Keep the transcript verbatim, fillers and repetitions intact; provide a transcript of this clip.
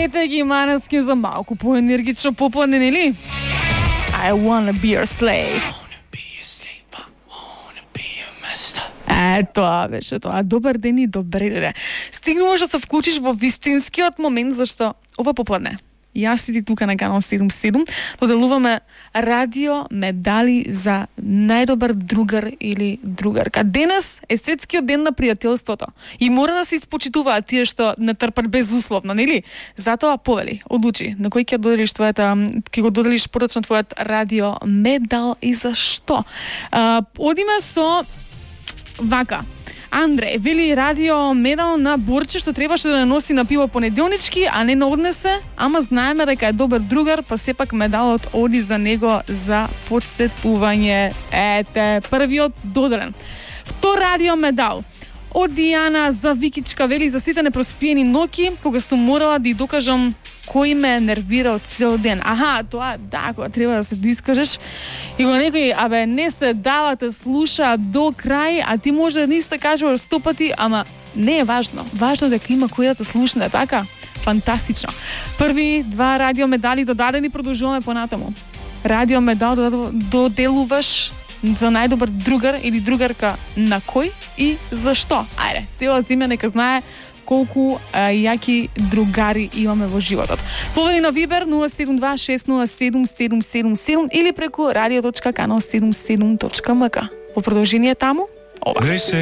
Ете ги Манескин за малку поенергично попладне, нели? I wanna be your slave. Е, тоа беше тоа. Добар ден и добре дене. Стигнуваш да се вклучиш во вистинскиот момент, зашто ова попладне јас и ти тука на канал седум седум доделуваме радио медали за најдобар другар или другарка. Денес е светскиот ден на пријателството и мора да се испочитуваат тие што не трпат безусловно, нели? Затоа повели, одлучи на кој ќе доделиш твојата, ќе го доделиш порочно твојот радио медал и зашто. А, одиме со вака. Андре, вели радио медал на Борче што требаше да не носи на пиво понеделнички, а не на однесе, ама знаеме дека е добар другар, па сепак медалот оди за него за подсетување. Ете, првиот доделен. Втор радио медал од Дијана за Викичка, вели за сите непроспиени ноќи, кога сум морала да ја докажам кој ме нервирал цел ден. Аха, тоа да, кога треба да се доискажеш и кога некој, абе, не се дава те слуша до крај, а ти може да не се кажуваш сто пати, ама не е важно. Важно е дека има кој да те слушне, така? Фантастично. Први два радио медали додадени, продолжуваме понатаму. Радио медал доделуваш за најдобар другар или другарка на кој и зашто. Ајде, цела земја нека знае колку а, јаки другари имаме во животот. Повели на Вибер нула седум два шест нула седум седум седум седум или преку радио точка канал седум седум точка ем ка. Во продолжение таму, ова.